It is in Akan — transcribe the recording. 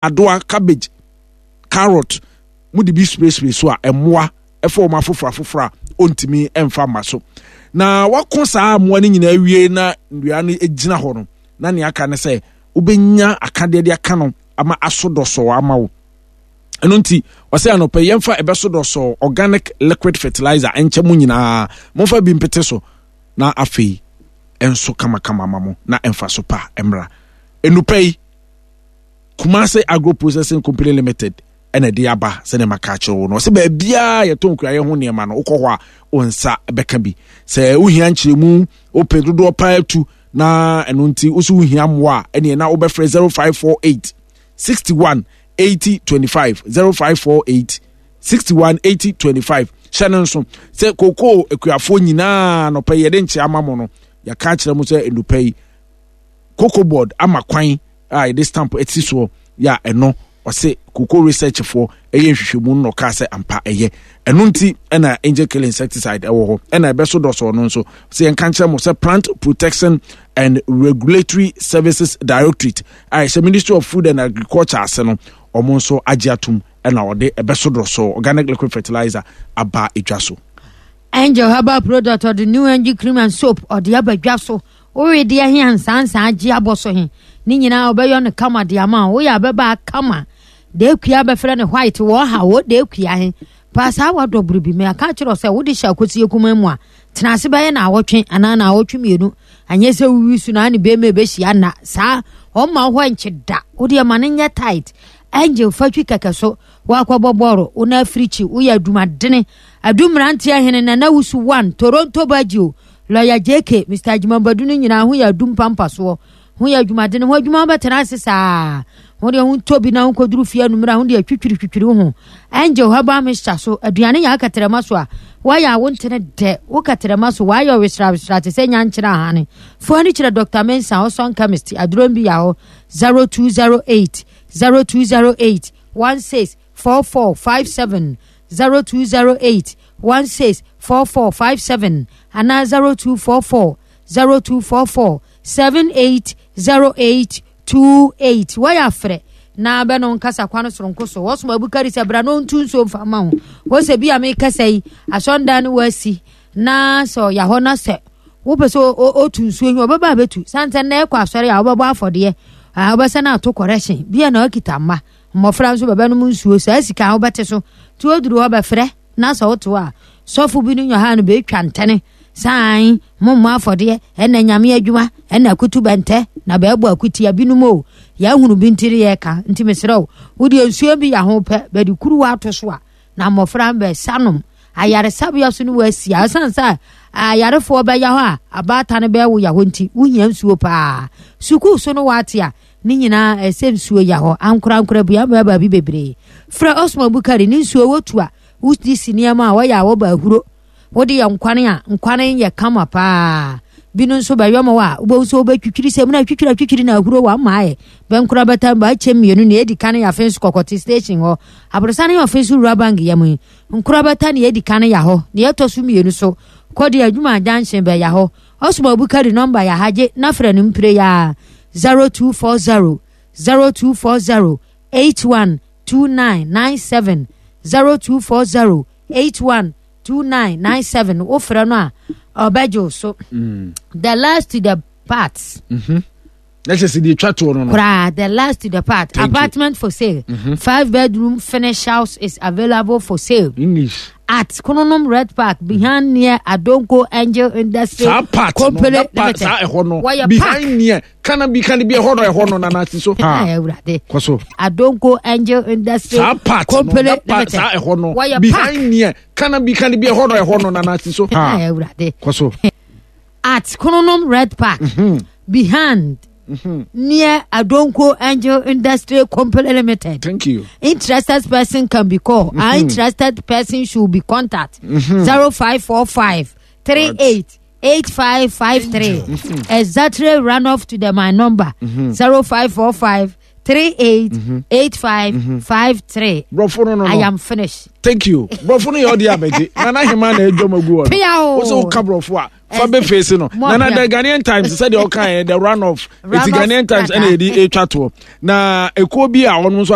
Adoa, cabbage, carrot, mode bi sprayspray so a, mmoa ɛfa wɔn afoforo afoforo a ɔntumi mfa mma so. Na wako saa mmoa no nyinaa wie na nnua no gyina hɔ no, na nea aka ne sɛ wobɛnya akadeɛ de aka no ama aso dɔsɔɔ ama wo. Ɛno nti ɔsɛ anɔpɛ yɛmfa ɛbɛso dɔsɔɔ organic liquid fertilizer nkyɛ mu nyinaa, momfa bi mpete so na afei ɛnso kamakama ma mo na ɛmfa so pa mmra. Enupɛ yi Kumasi Agro Processing Company Limited ɛna ɛde aba sɛdeɛ maka akyerɛ wo no. Ɔsɛ baabiara yɛtɔn kuayɛ ho nneɛma no, wokɔ hɔ a wo nsa bɛka bi. Sɛ wohia nkyerɛmu, wopɛ dodoɔ paa tu na ɛno nti wo so wohia mmoa a, ɛneɛ na wobɛfrɛ 0548 61 80 25 0548 61 80 25. Hyɛ no nso sɛ kokoo akuafoɔ nyinaa nɔpɛ yɛde nkyɛ ama mo no, yɛka akyerɛ mo sɛ nnupɛ yi Cocoa Board ama kwan a yɛde stamp asi soɔ yɛ a ɛno ɔse cocoa research foɔ ɛyɛ nhwehwɛmu no na ɔkaa sɛ ampa ɛyɛ. Ɛno nti ɛna angel kill insecticide ɛwɔ hɔ ɛna ɛbɛso dɔsɔɔ no nso sɛ yɛnka nkyerɛ mo sɛ Plant Protection and Regulatory Services Directorate a ɛhyɛ Ministry of Food and Agriculture ase no ɔmo nso agye atom ɛna ɔde ɛbɛso dɔsɔɔ organic liquid fertilizer aba edwa so. Angel herbal product ɔde new angel cream and soap ɔde aba dwa so. Wo wedeɛ he ansaansaa gye abɔ so he, ne nyinaa ɔbɛyɔ no kama de ama wo. Woyɛ abɛbaa kama. Daakua bɛfrɛ no white wɔ ha wɔ daakua he. Paa saa wadɔ bere bi. Meka akyerɛ wo sɛ wode hyɛ akosie kumaa mu a, tena ase bɛyɛ naawɔtwe anaa naawɔtwe mmienu. Anyɛ sɛ wowi so na ne bɛrima ɛbɛhyia nna. Saa ɔmma wo hɔ nkye da. Wodeɛ ma no nyɛ tight. Angel fa twi kɛkɛ so. Woakɔbɔ bɔɔlo, wo na afirikyi, woyɛ adwumadene. Adu mmeranteɛ hene Nana Wusu one, Toronto Baggio, Lawyer JK, Mister Agyemang Badu no nyinaa ho yɛ adum pampasoɔ. Ho yɛ adwumadene, ho adwuma wobɛtena ase saa. Ho deɛ ho ntɔ bi na ho kɔduru fie anummerɛ a ho deɛ twitwiri twitwiri wo ho. Angel herbal mixture so, aduane yɛ akɛtrɛma so a, woayɛ a wo ntene dɛ, wo kɛtrɛma so, woayɛ wesra wesra te sɛ nyankyerɛ ahane. Fo ani kyerɛ Dr. Mensah, ɔsɔn chemist, aduro bi yɛ hɔ, 0208 0208 16 4457 0208 16 4457 anaa 0244 0244 78 08 28. Wɔyɛ afrɛ na bɛ no nkasa kwan soronko so. Wɔsoma Abukari sɛ bra na ɔntu nsuo mfa ma ho. Wɔ sɛ bi a mekasa yi, asɔndan no wɔasi na sɛ ɔya hɔ na sɛ wopɛ sɛ ɔtu nsuo yi ɔbɛba abɛtu. Sane sɛ nnɛ ɛkɔ asɔre a wobɛbɔ afɔdeɛ, wobɛsɛ no ato correction bi a na wakita mma. Mmɔfra nso bɛbɛnom nsuo, saa sika a wobɛte so nti woduru hɔ bɛfrɛ na sɛ wote hɔ a sɔfo bi no nyɔha no bɛtwa ntɛne san mommɔ afɔdeɛ ɛna nyame adwuma ɛna akutu bɛntɛ na bɛɛbɔ akutia binom o yɛahunu bi nti ne yɛka nti mesrɛ wo wodeɛ nsuo bi yɛ ho pɛ bɛde kuruwa ato so a na mmɔfra no bɛsa nom ayaresabea so no wɔasi a ɛsiane sɛ ayarefoɔ bɛya hɔ a abaata no bɛɛwo ya hɔ nti wohia nsuo paa sukuu so no wɔate a Ne nyinaa ɛsɛ nsuo ya hɔ ankorankora bua mmoa baabi bebree. Frɛ Osman Bukari ne nsuo wotu a wodi si nneɛma a wɔyɛ a wɔba ahuro. Wode yɛ nkwane a nkwane yɛ kama paa. Binom nso bɛyɔ ma wo a wobɛhu sɛ wobɛtwitwiri sɛ mu na twitwiri atwitwiri na ahuro wɔ ama ayɛ. Bɛnkora bɛtam ba akyɛ mmienu nea edi kan yɛ afei nso kɔkɔte station hɔ. Aborosan yɛ ɔfe nso wura bank yam yi. Nkora bɛta nea edi kan ya hɔ. Nea ɛtɔ so mmienu so kɔ de adwuma junction bɛya hɔ. Ɔsoma Bukari nɔmba yɛ ha gye na frɛ no mpire yi ara, 0240 0240 81 2997 0240 81 2997 wofrɛ no a ɔbɛgye wo so. The last to the parts. Na kyerɛ sɛ deɛ ɛtwa toɔ no no. Koraa, the last to the part. Thank you. Apartment for sale. Five bedroom finished house is available for sale. English. At Kronom Red Park behind near Adonko Angel Industry Saa part no, Company that part, Limited. saa ɛhɔ no. Wɔyɛ park. Behind near, kana bi kana bi ɛhɔ no ɛhɔ no nana si so. Ha. Eh, Awurade. Kɔ so. Adonko Angel Industry Saa part no, Company that part, Limited. saa ɛhɔ no. Wɔyɛ park. Behind near, kana bi kana bi ɛhɔ no ɛhɔ no nana si so. Ha. Eh, Awurade. Kɔ so. At Kronom Red Park behind near Adonko Angel Industry Company Limited. Thank you. Interested person can be called. Mm-hmm. An interested person should be contacted. 0545 38 8553. Exactly run off to the my number 0545 38 8553. Brɔfo no no I no. am finished. Thank you. Brɔfo no yɛ ɔde abɛgye. Nana Hema na adwam agu hɔ no. Pia o. Wo sɛ woka brɔfo a fa bɛ face no. Mo Nana apia. the Ghanaian Times sɛdeɛ ɔka yɛ the run off. Eti Run off Ghanaian Times ɛna krataa. yɛde etwa toɔ. Na ekuo bi a ɔno nso